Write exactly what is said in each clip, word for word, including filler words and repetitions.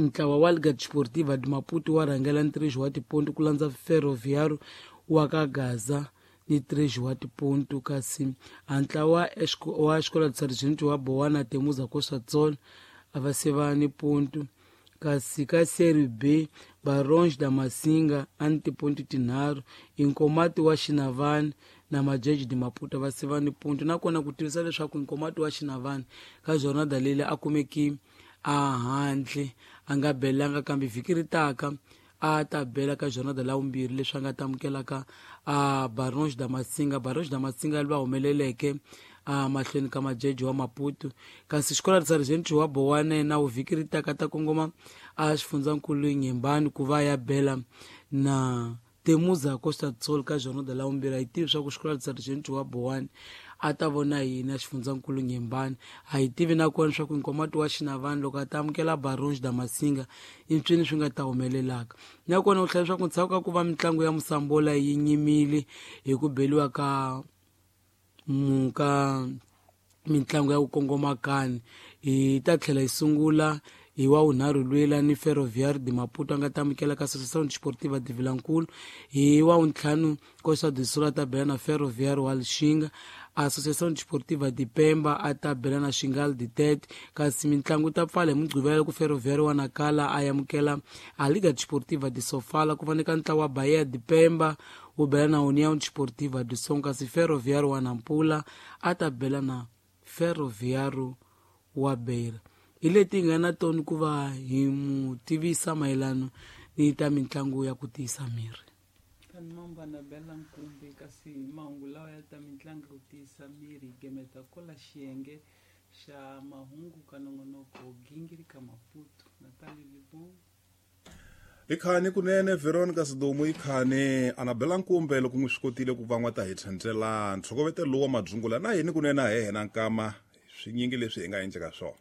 Ntlawa wa Liga Desportiva de Maputo wa rhangela ntirho wa tiponto ku landza Ferroviário wa ka Gaza ni três wa tiponto, kasi a ntlawa wa Escola de Sargento wa Boa na Temuza Costa do Sol a va se va ni ponto. Kasi ka Série B, Barões da Massinga a ni tiponto tinharhu, Inkomati wa Xinavane na Majeje de Maputo va se va ni ponto. Nakona ku tivisa leswaku Inkomati wa Xinavane ka jornada leyi a kumeki a handle, a nga belanga, kambe vhiki ri taka a ta bela ka jornada la vumbirhi leswi a nga ta amukelaka a Barões da Massinga. Barões da Massinga va humeleleke a mahlweni ka Majeje wa Maputo. Kasi Xikola Sargento wa Bowane na vhiki ri taka ta kongoma a xifundzankulu Nyembani ku va ya bela na Temuza Costa do Sol ka jornada la vumbirhi. A hi tivi swa ku Xikola Sargento wa Bowane a ta vona yini a xifundzankulu Nyembani. A hi tivi nakona swa ku Nkomati wa Xinavani loko a ta amukela Barões da Massinga i mpyini swi nga ta humelelaka. Nakona u tlhela leswaku ndzhaku ka ku va mitlangu ya Musambola yi nyimile hi ku beliwa ka ka mitlangu ya ku kongoma kani, hi ta tlhela yi sungula hi wa vunharhu lwela ni Ferroviário de Maputo a nga ta amukela ka Associação Desportiva de Vilankulu. Hi wa vuntlhanu Costa do Sol a ta bela na Ferroviário wa Lixinga, Associação Desportiva de Pemba a ta bela na Xingal de Tete. Kasi mitlangu ta pfala hi Mugqivela ku Ferroviário wa Nakala a amukela a Liga Desportiva de Sofala, ku va ka ntlawa wa Bahia de Pemba wu bela na União Desportiva de Som, kasi Ferroviário wa Nampula a ta bela na Ferroviário wa Beira. Hi leti hi nga na tona ku va hi mu tivisa mayelana ni ta mitlangu ya ku tiyisa miri. Mambana bela nkumbi, kasi mahungu lawa ya ta mitlangu ku tiyisa miri hi gemeta kola xiyenge xa mahungu ka nongonoko gingirika Maputo. Natali Libon. I khani kunene Veronica Sidumo, i khani Anabela Nkumbe loko n'wi swi kotile ku va n'wa ta hi tlhentlhela ntlhokovete lowu wa madzungula na yini kunene a he hena nkama swinyingi leswi hi nga endleka swona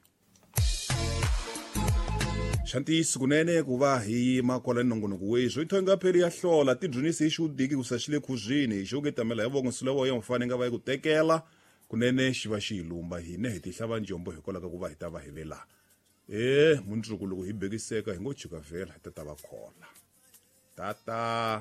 xa ntiyiso kunene ku va hi yima kwala nongonoko weswo i thonga pheli ya hlola tidyonisi hi xiwudiki ku sa xi le khuzwini hi xo ketamela hi voko nsula wa ya mufane nga va yi ku tekela kunene xi va xi hi lumba hine hi tihlava njombo hikwalaho ka ku va hi ta va hi ve laha e mundzuku loko hi bekiseka hi ngo chika vhela hi ta ta va khola tata.